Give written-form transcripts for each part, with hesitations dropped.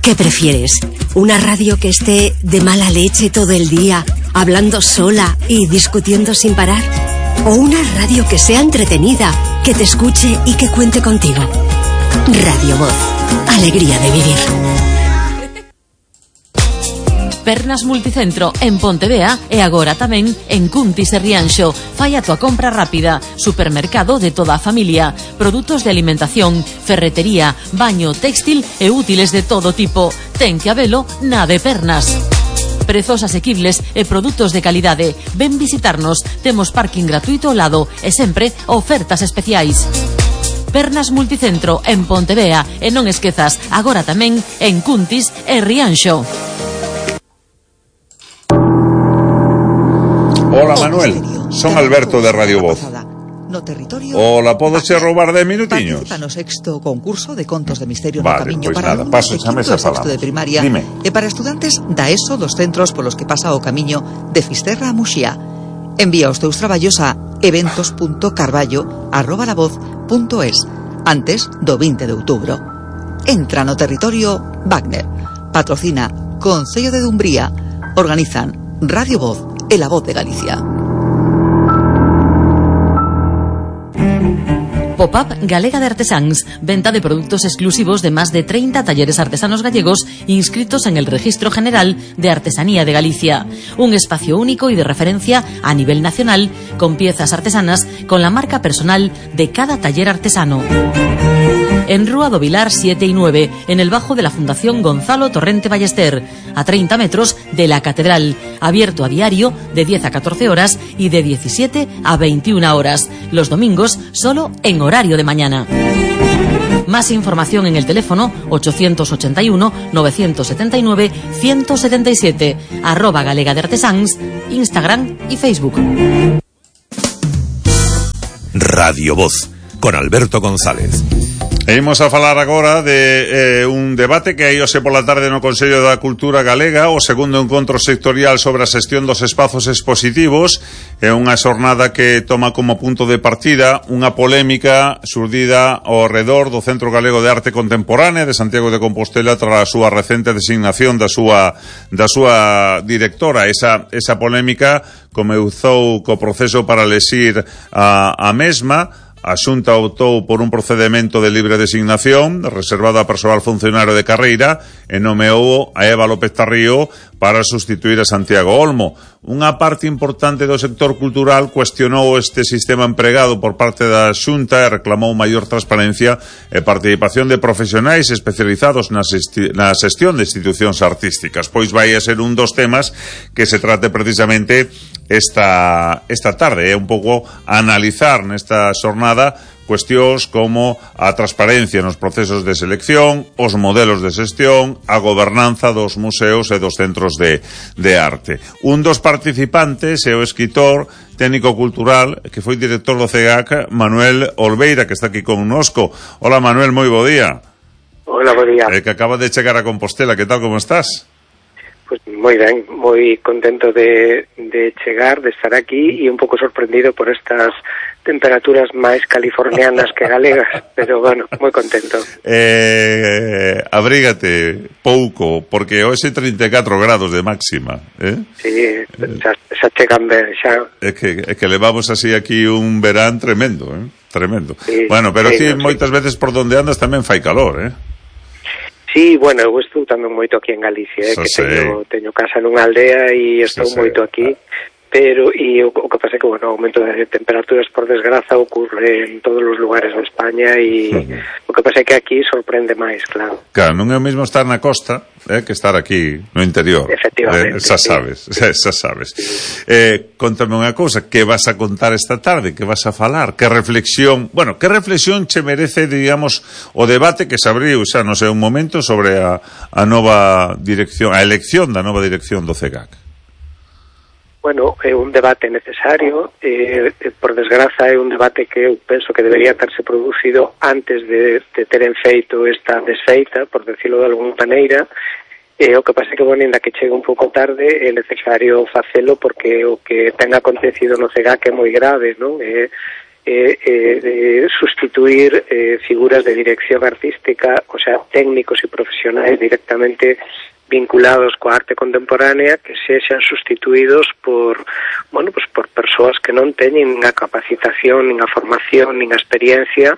¿Qué prefieres? ¿Una radio que esté de mala leche todo el día, hablando sola y discutiendo sin parar? ¿O una radio que sea entretenida, que te escuche y que cuente contigo? Radio Voz. Alegría de vivir. Pernas Multicentro en Pontevea e agora tamén en Cuntis e Rianxo. Fai a tua compra rápida. Supermercado de toda a familia. Produtos de alimentación, ferretería, baño, téxtil e útiles de todo tipo. Ten que habelo na de Pernas. Prezos asequibles e produtos de calidade. Ven visitarnos. Temos parking gratuito ao lado e sempre ofertas especiais. Pernas Multicentro en Pontevea e non esquezas, agora tamén en Cuntis e Rianxo. Hola Manuel, son Alberto de Radio Voz. Hola, podo che roubar 10 minutiños? Participa no sexto concurso de contos de misterio vale, no Camiño pois para nada, alumnos paso de xa quinto e sexto de primaria. Dime. E para estudantes da ESO dos centros polos que pasa o camiño de Fisterra a Muxía. Envía os teus traballos a eventos.carballo@lavoz.es antes do 20 de outubro. Entra no territorio Wagner. Patrocina Concello de Dumbría. Organizan Radio Voz e La Voz de Galicia. Pop-up Galega de Artesáns, venta de productos exclusivos de más de 30 talleres artesanos gallegos inscritos en el Registro General de Artesanía de Galicia. Un espacio único y de referencia a nivel nacional, con piezas artesanas con la marca personal de cada taller artesano. En Rúa do Vilar 7 y 9, en el bajo de la Fundación Gonzalo Torrente Ballester, a 30 metros de la Catedral, abierto a diario de 10 a 14 horas y de 17 a 21 horas, los domingos solo en horario de mañana. Más información en el teléfono 881-979-177, @Galega de Artesáns, Instagram y Facebook. Radio Voz, con Alberto González. Imos a falar agora de un debate que hai hoxe pola tarde no Consello da Cultura Galega, o segundo encontro sectorial sobre a xestión dos espazos expositivos. É unha xornada que toma como punto de partida unha polémica xurdida ao redor do Centro Galego de Arte Contemporánea de Santiago de Compostela tras a súa recente designación da súa directora. Esa polémica comezou co proceso para elexir a mesma. A Xunta optou por un procedemento de libre designación reservado a persoal funcionario de carreira e nomeou a Eva López Tarrío para sustituir a Santiago Olmo. Unha parte importante do sector cultural cuestionou este sistema empregado por parte da Xunta e reclamou maior transparencia e participación de profesionais especializados na xestión de institucións artísticas. Pois vai a ser un dos temas que se trate precisamente esta tarde. É un pouco analizar nesta xornada cuestións como a transparencia nos procesos de selección, os modelos de xestión, a gobernanza dos museos e dos centros de arte. Un dos participantes é o escritor técnico cultural que foi director do CEGAC, Manuel Olveira, que está aquí connosco. Hola Manuel, moi bo día. Hola, bo día. Que acaba de chegar a Compostela, que tal, como estás? Pues moi ben, moi contento de chegar, de estar aquí e un pouco sorprendido por estas temperaturas máis californianas que galegas, pero bueno, moi contento. Abrígate pouco, porque hoxe 34 grados de máxima, Sí, xa chegan ben, xa. É que levamos así aquí un verán tremendo, tremendo. Sí, bueno, pero sí, ti moitas veces por donde andas tamén fai calor, Sí, bueno, eu estou tamén moito aquí en Galicia, que teño casa nunha aldea e estou moito aquí, pero o que pasa é que, bueno, o aumento de temperaturas, por desgraza, ocurre en todos os lugares de España e o que pasa é que aquí sorprende máis, claro. Claro, non é o mesmo estar na costa que estar aquí no interior. Efectivamente. Xa sabes. Contame unha cousa, que vas a contar esta tarde, que vas a falar, que reflexión che merece, digamos, o debate que se abriu xa, non sei, un momento sobre a nova dirección, a elección da nova dirección do CEGAC. Bueno, é un debate necesario, por desgraza é un debate que eu penso que debería terse producido antes de teren feito esta desfeita, por decirlo de alguna maneira, o que pasa é que, bueno, ainda que chegue un pouco tarde, é necesario facelo porque o que ten acontecido no CEGAC é moi grave, non? sustituir figuras de dirección artística, o sea, técnicos e profesionais directamente vinculados coa arte contemporánea, que sexan sustituídos por persoas que non teñen nin a capacitación, nin a formación, nin a experiencia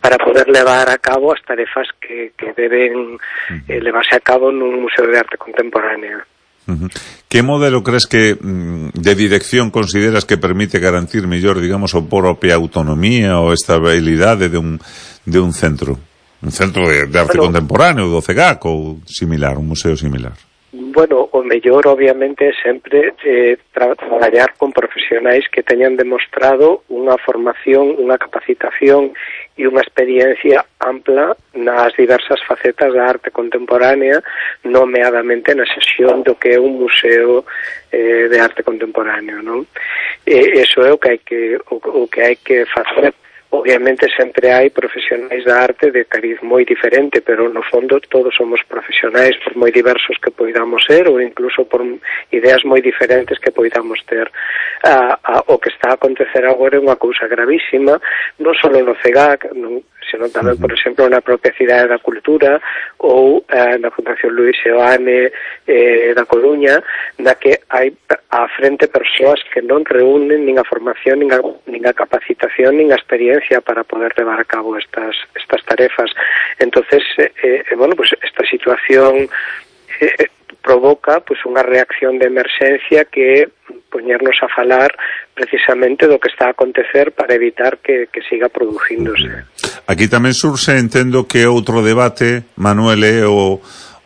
para poder levar a cabo as tarefas que deben levarse a cabo nun museo de arte contemporánea. Que modelo crees que de dirección consideras que permite garantir mellor, digamos, a propia autonomía ou estabilidade de un centro? Un centro de arte contemporáneo, do CEGAC ou similar, un museo similar? Bueno, o mellor, obviamente, sempre traballar con profesionais que teñan demostrado unha formación, unha capacitación e unha experiencia ampla nas diversas facetas da arte contemporánea, nomeadamente na xestión do que é un museo de arte contemporáneo, non? Eso é o que hai que facer. Obviamente sempre hai profesionais da arte de cariz moi diferente, pero no fondo todos somos profesionais, por moi diversos que poidamos ser, ou incluso por ideas moi diferentes que poidamos ter. O que está a acontecer agora é unha cousa gravísima, non só no CEGAC, senón tamén, por exemplo, na propia Cidade da Cultura ou na Fundación Luis Seoane da Coruña, na que hai á frente persoas que non reúnen nin a formación, nin a capacitación, nin a experiencia para poder levar a cabo estas tarefas. Entonces, esta situación provoca unha reacción de emerxencia que poñernos a falar precisamente do que está a acontecer para evitar que siga producíndose. Aquí tamén surxe, entendo, que outro debate, Manuel,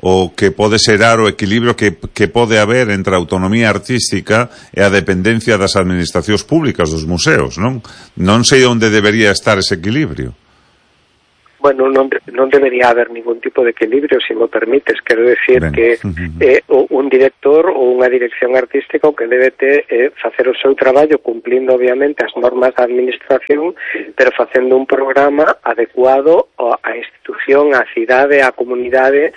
o que pode serar o equilibrio que pode haber entre a autonomía artística e a dependencia das administracións públicas dos museos, non? Non sei onde debería estar ese equilibrio. Bueno, non debería haber ningún tipo de equilibrio, se me permites. Quero decir que un director ou unha dirección artística o que debe facer o seu traballo cumplindo obviamente as normas da administración, pero facendo un programa adecuado á institución, á cidade, á comunidade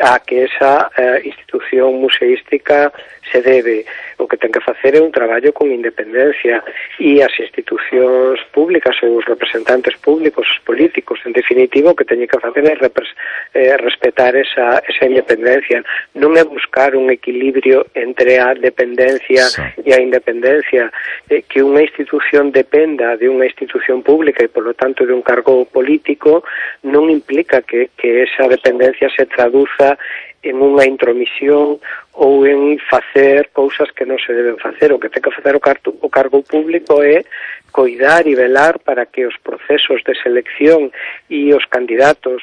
a que esa institución museística se debe. O que ten que facer é un traballo con independencia, e as institucións públicas ou os representantes públicos, os políticos, en definitivo, o que teñen que facer é respetar esa independencia. Non é buscar un equilibrio entre a dependencia e a independencia. Que unha institución dependa de unha institución pública e, polo tanto, de un cargo político non implica que esa dependencia se traduza en unha intromisión ou en facer cousas que non se deben facer. O que ten que facer o cargo público é coidar e velar para que os procesos de selección e os candidatos,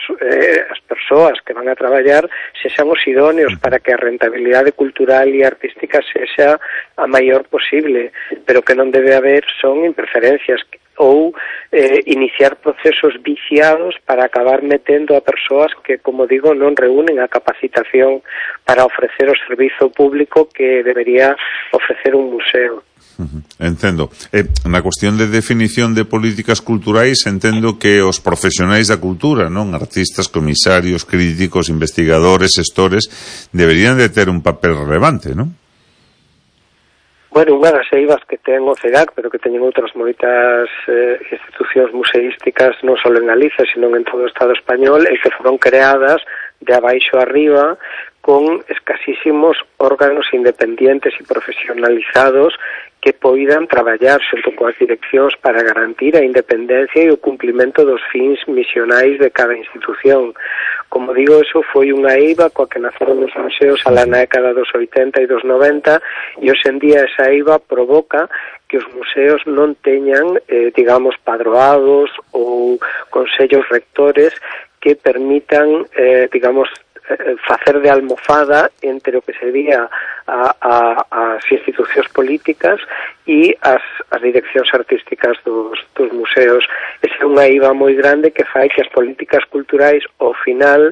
as persoas que van a traballar, sexan os idóneos para que a rentabilidade cultural e artística sexa a maior posible, pero que non debe haber son interferencias ou iniciar procesos viciados para acabar metendo a persoas que, como digo, non reúnen a capacitación para ofrecer o servizo público que debería ofrecer un museo. Entendo. Na cuestión de definición de políticas culturais, entendo que os profesionais da cultura, non, artistas, comisarios, críticos, investigadores, xestores, deberían de ter un papel relevante, non? Bueno, unha das eivas que ten o CEGAC, pero que teñen outras moitas institucións museísticas, non só en Galicia, sino en todo o Estado español, e que foron creadas de abaixo arriba con escasísimos órganos independientes e profesionalizados que poidan traballar xunto coas direccións para garantir a independencia e o cumplimento dos fins misionais de cada institución. Como digo, eso foi unha eiva coa que naceron os museos a la década dos 80 e dos 90, e hoxe en día esa eiva provoca que os museos non teñan, digamos, padroados ou consellos rectores que permitan, digamos, facer de almofada entre o que sería as institucións políticas e as direccións artísticas dos museos. Esa é unha eiva moi grande que fai que as políticas culturais ao final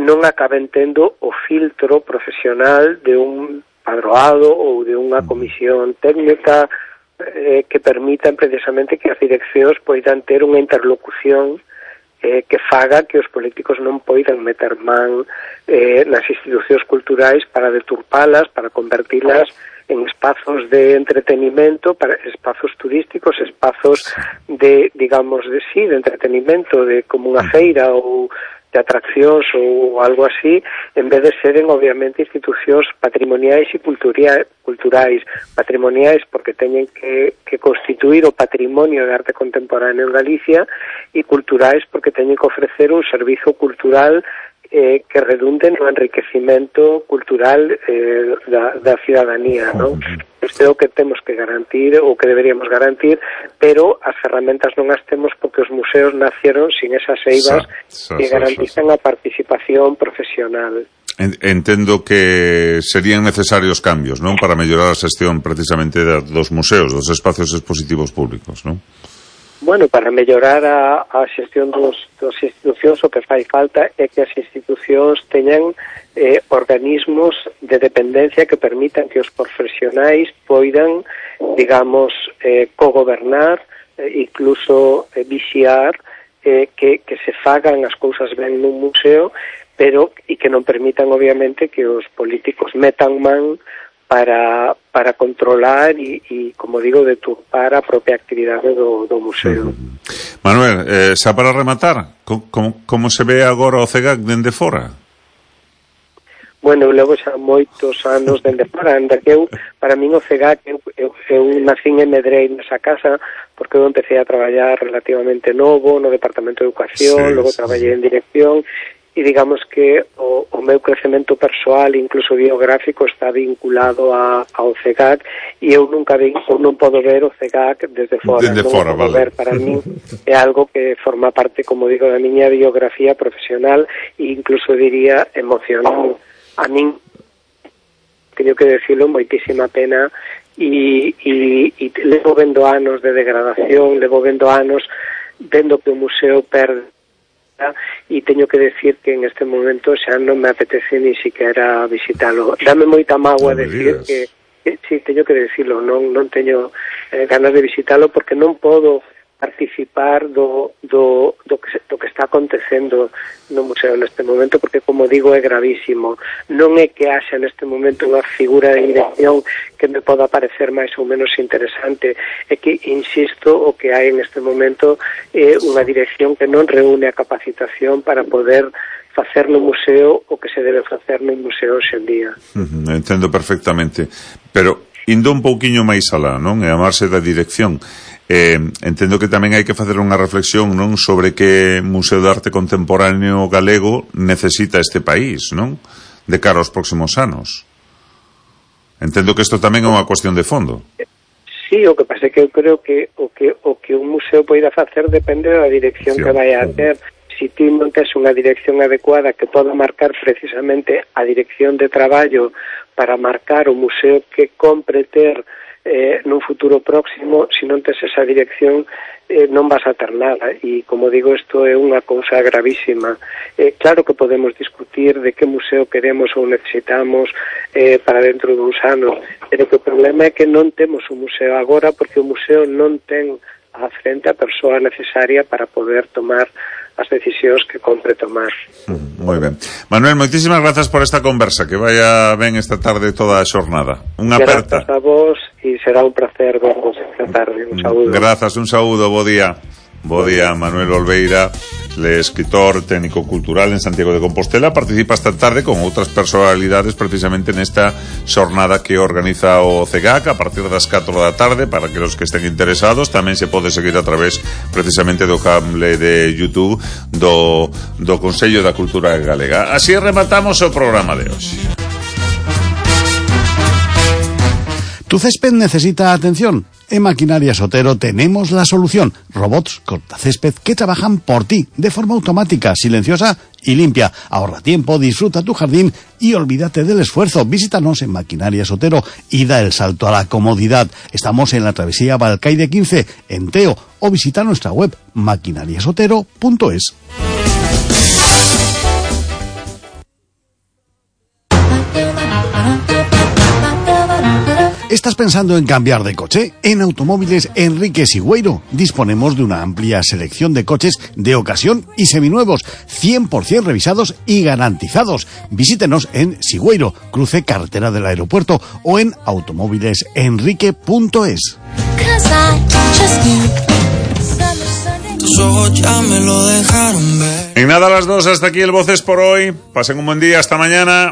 non acaben tendo o filtro profesional de un padroado ou de unha comisión técnica que permitan precisamente que as direccións poidan ter unha interlocución que faga que os políticos non poidan meter man nas institucións culturais para deturpalas, para convertilas en espazos de entretenimento, para espazos turísticos, espazos de, digamos, de entretenimento, de como unha feira ou de atraccións ou algo así, en vez de seren, obviamente, institucións patrimoniais e culturais. Patrimoniais porque teñen que constituir o patrimonio de arte contemporáneo en Galicia, e culturais porque teñen que ofrecer un servizo cultural que redunde no enriquecimento cultural da cidadanía, non? Isto é o que temos que garantir, ou que deberíamos garantir, pero as ferramentas non as temos porque os museos nacieron sin esas eivas que garantizan a participación profesional. Entendo que serían necesarios cambios, non? Para mellorar a xestión precisamente dos museos, dos espacios expositivos públicos, non? Bueno, para mellorar a xestión das institucións, o que fai falta é que as institucións teñan organismos de dependencia que permitan que os profesionais poidan, digamos, cogobernar, incluso vixiar que se fagan as cousas ben nun museo, pero e que non permitan, obviamente, que os políticos metan man para controlar e, como digo, deturpar a propia actividade do museo. Manuel, xa para rematar, como se ve agora o CEGAC dende fora? Bueno, levo xa moitos anos dende fora, anda que para min o CEGAC, eu nacín e medrei nesa casa, porque eu empecé a traballar relativamente novo no Departamento de Educación, logo traballei en dirección, e digamos que o meu crecemento persoal, incluso biográfico, está vinculado ao CEGAC, e eu nunca non podo ver o CEGAC desde fora. Vale. Ver, para mí é algo que forma parte, como digo, da miña biografía profesional e incluso diría emocional. A min, teño que decirlo, moitísima pena, e levo vendo anos de degradación, levo vendo anos vendo que o museo perde, e teño que decir que en este momento xa non me apetece ni siquiera visitalo. Dame moita mágoa decir que sí, teño que decirlo, non teño ganas de visitalo porque non podo participar do que está acontecendo no museo neste momento, porque, como digo, é gravísimo. Non é que haxa neste momento unha figura de dirección que me poda parecer máis ou menos interesante, é que, insisto, o que hai neste momento é unha dirección que non reúne a capacitación para poder facer no museo o que se debe facer no museo hoxe en día. Entendo perfectamente, pero indo un pouquiño máis alá, non? E amarse da dirección, entendo que tamén hai que facer unha reflexión, non, sobre que Museo de Arte Contemporáneo galego necesita este país, non, de cara aos próximos anos. Entendo que isto tamén é unha cuestión de fondo. Sí, o que pasa é que eu creo que o que un museo poida facer depende da dirección que vai a ter. Si ti non tes unha dirección adecuada que poda marcar precisamente a dirección de traballo para marcar o museo que compre ter nun futuro próximo, se non tes esa dirección non vas a ter nada, e como digo, isto é unha cousa gravísima. Claro que podemos discutir de que museo queremos ou necesitamos para dentro duns anos, pero que o problema é que non temos un museo agora, porque o museo non ten á frente a persoa necesaria para poder tomar as decisións que compre tomar. Moi ben. Manuel, moitísimas grazas por esta conversa, que vaya ben esta tarde toda a xornada. Unha aperta. Grazas a vos e será un placer vervos esta tarde. Un saúdo. Grazas, un saúdo, bo día. Bo día, Manuel Olveira, escritor técnico cultural en Santiago de Compostela. Participa esta tarde con outras personalidades precisamente nesta xornada que organiza o CEGAC a partir das 4 da tarde, para que os que estén interesados. Tamén se pode seguir a través precisamente do cable de YouTube do Consello da Cultura Galega. Así rematamos o programa de hoxe. ¿Tu césped necesita atención? En Maquinarias Otero tenemos la solución. Robots cortacésped que trabajan por ti de forma automática, silenciosa y limpia. Ahorra tiempo, disfruta tu jardín y olvídate del esfuerzo. Visítanos en Maquinarias Otero y da el salto a la comodidad. Estamos en la travesía Balcaide 15, en Teo, o visita nuestra web maquinariasotero.es. ¿Estás pensando en cambiar de coche? En Automóviles Enrique Sigüeiro disponemos de una amplia selección de coches de ocasión y seminuevos, 100% revisados y garantizados. Visítenos en Sigüeiro, cruce carretera del aeropuerto, o en automóvilesenrique.es. En nada, a las 2, hasta aquí el Voces por hoy. Pasen un buen día, hasta mañana.